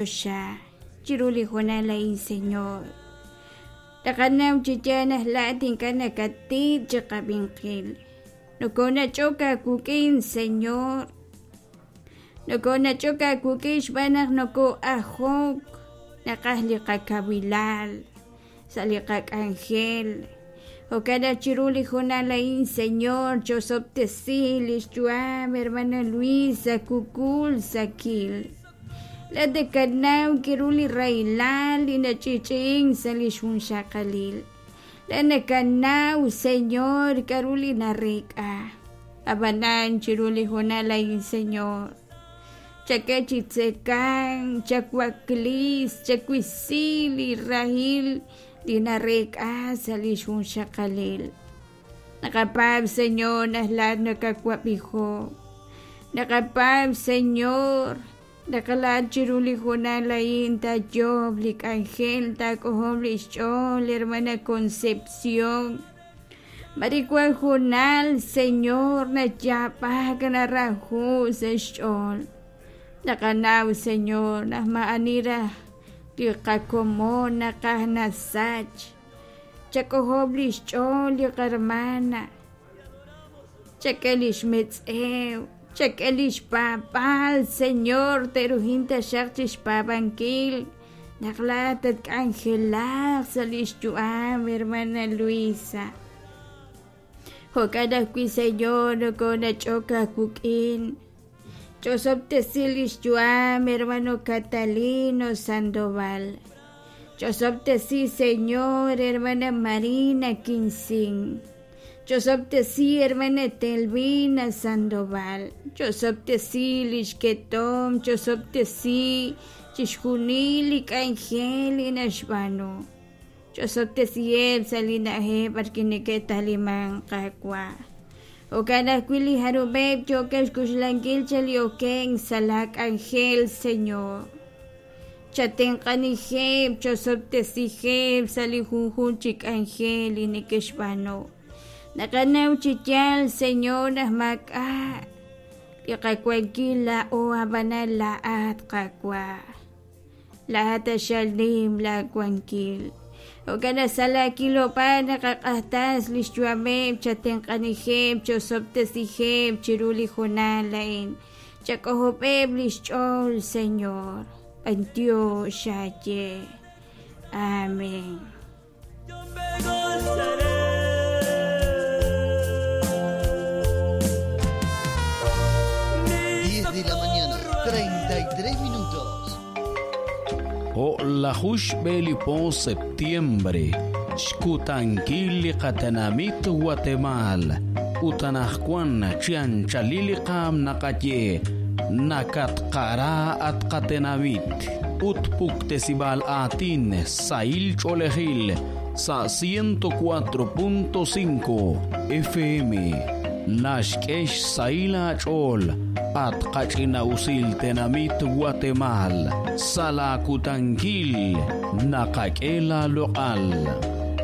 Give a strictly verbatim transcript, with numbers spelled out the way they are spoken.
Choxa chiru li hoonal a'in, Señor. Taqanaw chi yaal naq laa'at ink'a' nakattiik chiqab'inqil. Nokonach'ok aawik'in, Señor. Nokonach'ok aawik'in xb'aan naq noko'ajok, naqaj li qakawilal sa' li qak'anjel. Jo'kan naq chiru li hoonal a'in, Señor, chosob'tesi lix yu'am hermana Luisa Kukul Sakil. Laa'at nakanaw k'aru li rahilal li nach'i'ch'i'ink sa' li xjunxaqalil. Laa'at nakanaw, Señor, k'aru li nareek'a. Ab'anan chiru li hoonal a'in, Señor, chak'e chi tzekank, chawaklis, chawisi li rahil li nareek'a sa' li xjunxaqalil. Naqapaab', Señor, naq laa'at nakawab'ijo. Naqapaab', Señor, naq laa'at chiru li hoonal a'in taayoob' li k'anjel, taak'ojob' li xch'ool, hermana Concepción. Mari wan hoonal, Señor, nayaab'ak naraju sa' xch'ool. Naqanaw, Señor, naq ma'ani raj li qakomon naqaj nasach. Chak'ojob' li xch'ool li qarmana. Chak'e li xmetz'ew, chak'e li xpaab'aal, Señor, te'rujin taxaq chixpaab'ankil naq laa'at tatk'anjelaq sa' li xyu'am, hermana Luisa. Jo'kan ajwi', Señor, nokonach'ok aawik'in. Chosob'tesi li xyu'am, hermano Catalino Sandoval. Chosob'tesi, Señor, hermana Marina Quincín. Chosob'tesi, hermana Telvina Sandoval. Chosob'tesi li xketom, chosob'tesi chixjunil li k'anjel li naxb'aanu. Chosob'tesiheb' sa' li na'ajej b'arwi' neke'taliman Qaawa'. Jo'kan ajwi' li jarub'eb' yookeb' xk'uxlankil chal li okenk sa' la k'anjel, Señor. Chatenq'anijeb', chosob'tesijeb' sa' li junjunq chi k'anjel li neke'xb'aanu. Naqanaw chi yaal, Señor, naq maak'a' li qawankil laa'o ab'anan laa'at Qaawa'. Laa'at taxal nim laawankil. Jo'kan naq sa' laakilob'aal naqaq'ajtas li xyu'ameb', chatenq'anijeb', chosob'tesijeb' chiru li hoonal a'in. Chak'ojob'eb' li xch'ool, Señor. B'antiox xaye. Amén. Yo me gozaré. diez de la mañana, treinta y tres minutos. O'lajux b'elipo septiembre, xkutankil li qatenamit Guatemala, utanajkuan chianchalili qam naqaye, nakatqara atqatenamit, utpuktesibal atin sail cholejil, sa ciento cuatro punto cinco F M. Naxk'ex saila ch'ol at qach'inawsil tenamit Guatemal salakutankil naqak'ela loq'al.